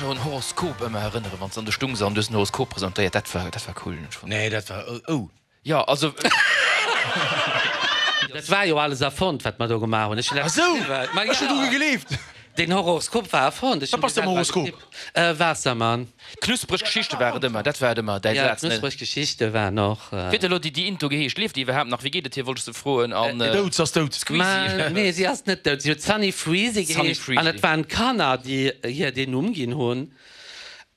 Un Horoskop ëmmer erënneren, wann s an de stungs an du hues den Horoskop presentéiert, dat war, dat war cool. Nee, dat war, oh. Jo, also. Dat war jo alles erfonnt, wat mer do gemaach hunn. Ech hunn dat geschriwwen. Ma jo. Ech hunn dru gegleeft. Den Horoskop war erfonnt. Ech Wat hunn bass de du am selwer Horoskop? getippt. Waassermann. Knuspreg Geschichte war et ëmmer, dat war et ëmmer, däi Ja, Saz, ne? knuspreg Geschichte waren och. Wéi huet elo déi déi Into geheescht? Lieft déi iwwerhaapt nach? Wéi geet et hir, wollt ech se froen. An. Dout, se ass dout. Squeezie. Ma nee, si ass net dout. Si huet Sunny Freezy Sunny geheescht an Freezy. et waren d'Kanner, déi hir deen Numm ginn hunn.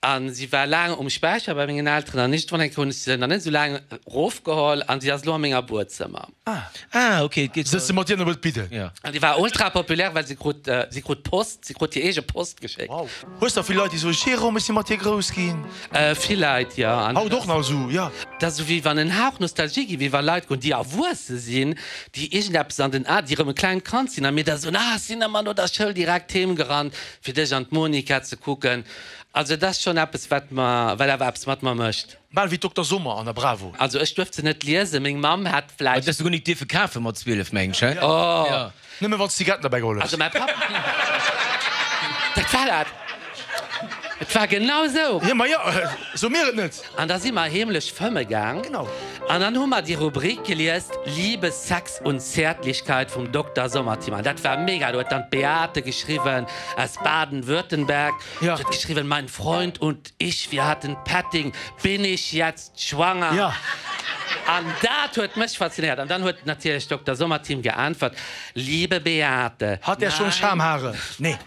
A si war laang um Späicher bei mengen Elteren an iergendwann eng Kéier hunn ech se nach net esou laang erofgeholl an si ass elo a menger Buedzëmmer. Ah, ok, et geet. Sëtze mat dir op et bidden. Ja. An déi war ultra populär, well si krut, si krut Post, si krut hir eege Post geschéckt. Wow. Hues der vill Leit, déi soen, Jérôme, ech si mat dir grouss ginn? Vill Leit, jo. An Haut och nach esou, jo. Dat ass esou wéi wann en Hauch Nostalgie ginn, wéi wa Leit goen, déi erwuesse sinn, déi iergendeppes an den A, déi erëm e klengt Kand sinn a mir da soen, ah, ech sinn ëmmer no der Schoul direkt heem gerannt, fir dech an d'Monica ze kucken. Also et ass schonn eppes, wat mer, wat awer eppes mat mer mécht. Bal wéi Dokter Sommer an der Bravo. Also ech duerft se net liesen, meng Mamm hat vläicht. Hues de guer nik dierfe kafe mat 12, meng ech, hä? Oh! Nëmme wann s Zigaretten derbäi geholl hues. Also mäi Papp, dat war dat, et war genau esou. Jo, ma jo, so mir et net. An da si mer heemlech fëmme gaang. Genau. An dann hu mer déi Rubrik gelies, Liebe, Sex und Zärtlichkeit vum Dokter Sommerteam. An dat war mega. Do huet dann d'Beate geschriwwen aus Baden-Württemberg. Ja. Si huet geschriwwen, Mein Freund und ich, wir hatten Petting, bin ich jetzt schwanger? Ja. An dat huet mech faszinéiert. An dann huet natierlech Dokter Sommerteam geäntwert, Liebe Beate, Hat der schon nein. Schamhaare? Nee.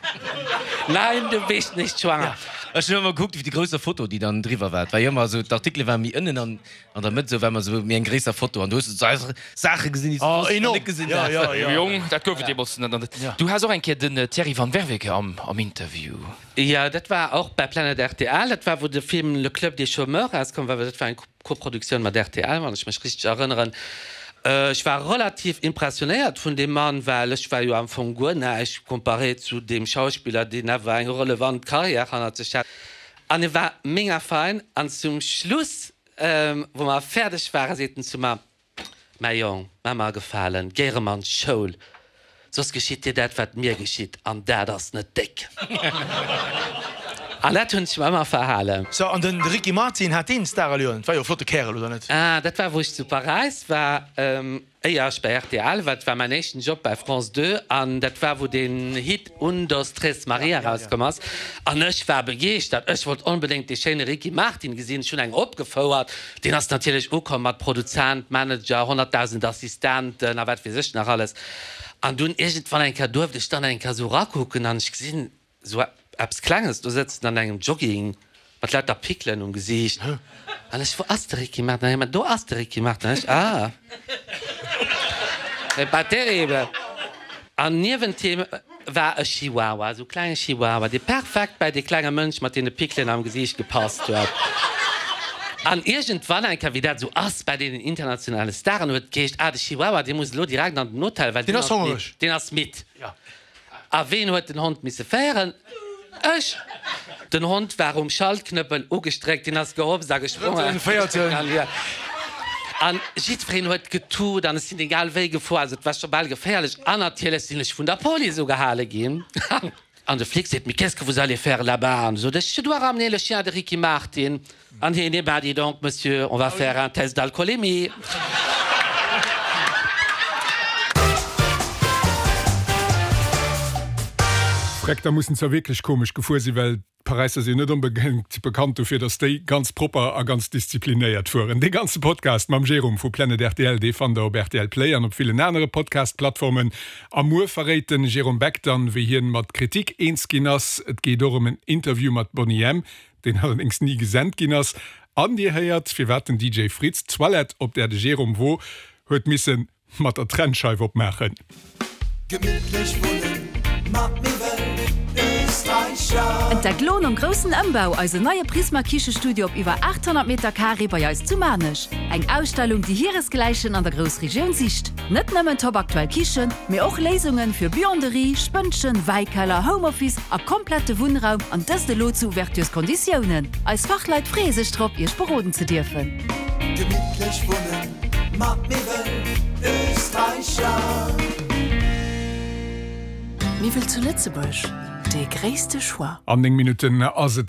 Nein, du bist nicht schwanger. Ja. Ech hunn ëmmer gekuckt, wéi déi grousser Foto, déi dann driwwer war. Et war jo ëmmer esou, d'Artikele waren méi ënnen an an der Mëtt esou war ëmmer esou méi eng gréisser Foto an do hues du esou Saache gesinn, déi s du Oh, soss nach enorm. net gesinn Ja, has. ja, ja. Jong, dat gouf et deemools net. Du has och eng Kéier den Thierry van Werveke am am Interview. Jo, dat war och bei Planet rtl. Dat war, wou de Film Le Club des chômeurs erauskomm war. Dat war eng Koproduktioun mat rtl, wann ech mech richteg erënneren. Ech war relativ impressionéiert vun deem Mann, well ech war jo am Fong guer näischt comparé zu deem Schauspiller, deen awer eng relevant Karriär hannert sech hat. An e war mega fein. An zum Schluss, wou mer fäerdeg waren, seet en zu mer, Mäi Jong, maach mer e Gefalen, géi erëm an d'Schoul, soss geschitt dir dat, wat mir geschitt, an dat ass net déck. An dat hunn ech mer ëmmer verhalen. So, an den Ricky Martin, hat deen Starallüren? Et war jo e flotte Kärel, oder net? Ah, dat war, wou ech zu Paräis war. Éier ech bei rtl war, dat war mäin éischten Job bei France 2 an dat war wou deen Hit Un dos tres Maria erauskomm ass an ech war begeeschtert. Ech wollt onbedéngt dee schéine Ricky Martin gesinn. Ech hunn eng opgefouert. Deen ass natierlech ukomm mat Produzent, Manager, 100.000 Assistenten a wat weess ech nach alles. An dunn iergendwann eng Kéier duerft ech dann eng Kéier esou erakucken an ech gesinn, Sou eppes Klenges do sëtzen an engem Jogging mat lauter Pickelen um Gesiicht an ech, Wou ass de Ricky Martin? An hie, Ma do ass de Ricky Martin. An ech, Ah, c'est pas terrible. An niewent him war e Chihuahua, esou e klenge Chihuahua, dee perfekt bäi dee klenge Mënsch mat deene Pickelen am Gesiicht gepasst huet. An iergendwann eng Kéier, wéi dat esou ass bäi deenen internationale Staren, huet et geheescht, Ah, de Chihuahua, dee muss elo direkt an den Hotel, well Deen ass hongereg. Deen ass midd. A ween huet den Hond misse féieren? Ech! Den Hond war um Schaltknëppel ugestréckt, deen ass gehopst a gesprongen. Drëtten, véierten. An jiddwereen huet getut an ech sinn egal wéi gefuer, also et war scho bal geféierlech. An natierlech sinn ech vun der Police ugehale ginn. An de Flic seet, Mais qu'est-ce que vous allez faire là-bas? An sot ech, Je dois ramener le chien de Ricky Martin. An hien, Eh ben, dis donc, Monsieur, on va faire un test d'alcoolémie. Freck, da mussen zwar wierklech komesch gefuer sinn, well d'Paräisser sinn net onbedéngt bekannt dofir, dass déi ganz propper a ganz disziplinéiert fueren. Dee ganze Podcast mam Jérôme vu Planet rtl, dee fannt der op rtl Play an op villen anere Podcast-Plattformen. A muer verréit den Jérôme Beck dann, wéi hien mat Kritik eens ginn ass. Et geet och ëm en Interview mat Boney M. deen allerdéngs ni gesent ginn ass, an dir héiert, firwat den DJ Fritz d'Toilette, op där de Jérôme wor, huet misse mat der Trennscheif opmaachen. Gemittlech wunnen mat Miwwel Österreicher. Entdeckt lo nom groussen Ëmbau eisen neie Prisma Kichestudio op iwwer 800 Meter Carré bei eis zu Maarnech. Eng Ausstellung déi hiresgläichen an der Groussregioun sicht. Net nëmmen top aktuell Kichen, mee och Léisungen fir Buanderie, Spënnchen, Wäikeller, Homeoffice a komplette Wunnraum an dëst elo zu Ouvertures-Konditiounen. Eis Fachleit freeë sech drop, Iech beroden ze dierfen. Gemittlech wunnen mat Miwwel Österreicher. Miwwel zu Lëtzebuerg? Dee gréisste Choix. An 9 Minutten ass et.